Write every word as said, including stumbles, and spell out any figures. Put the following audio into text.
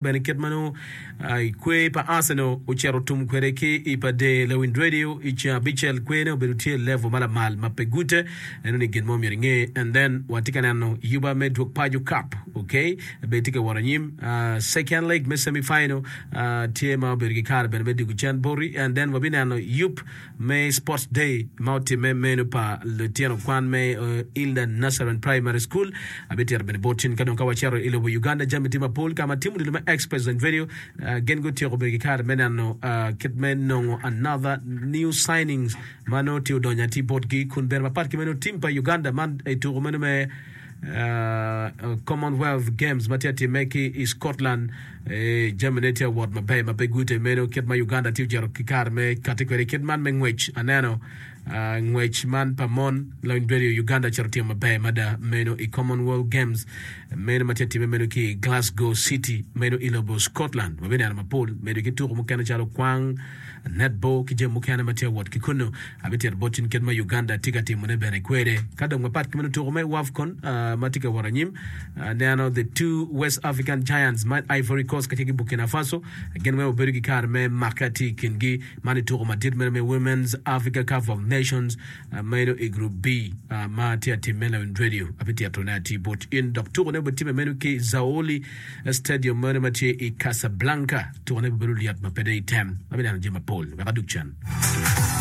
Bene kit ma nongo kwer pa Arsenal ocito tum kwede ki i pa Der Lewin Radio i ceng abicel, kwerne obedo tye i level ma lamal ma pe gute. Eno ni gin mo myero inge. And then watye ka neno yuba me dwog paco cup, okay, bene tye ka wot anyim. Second leg me semi final tye ma obedo ki kare bene me dwogo cen boti. And then wabineno yub me Sports Day ma otimme meno pa lutino kwan me Hilda Nazarene Primary School. Abitito bene bot in ka dong ka wacito i lobo Uganda jami tye mapol ka ma timo odilo me Ex-President Radio gin gutyeko bedo ki kare me neno kit me nongo another new signings ma nongo tye odonyo atir botgi kun bene mapat ki meno tim pa Uganda man i tuko meno me Commonwealth Games ma tye ka timme ki i Scotland. Jamine tye ka wot maber ma pe gute meno kit ma Uganda tye ocito ki kare me kati kwede kit man me ngwec. Aneno ngwec man pa mon lony bedo i Uganda ocito timo maber mada meno i Commonwealth Games meno ma tye ka timme meno ki i Glasgow City meno i lobo Scotland. Wabineno mapol medo ki tuko mukene calo kwang, netball ki jami mukene ma tye ka wot ki kunnu. Abitito bot in kit ma Uganda tye ka timone bene kwede. Ka dong mapat ki meno tuko me WAFCON ma tye ka wot anyim, aneno the two West African Giants ma Ivory Coast kacel ki Burkina Faso gin weng obedo ki kare me make atir i kingi. Man i tuko madit meno me Women's Africa Cup of Nations meno i Group B ma tye ka timme lawiny radio. Abititone atir bot in dok tukone obitimme meno ki Zaoli Stadium meno ma tye i Casablanca. Tukone bibedo lyet ma pe dong item. Abineno jami mapol wek adug cen.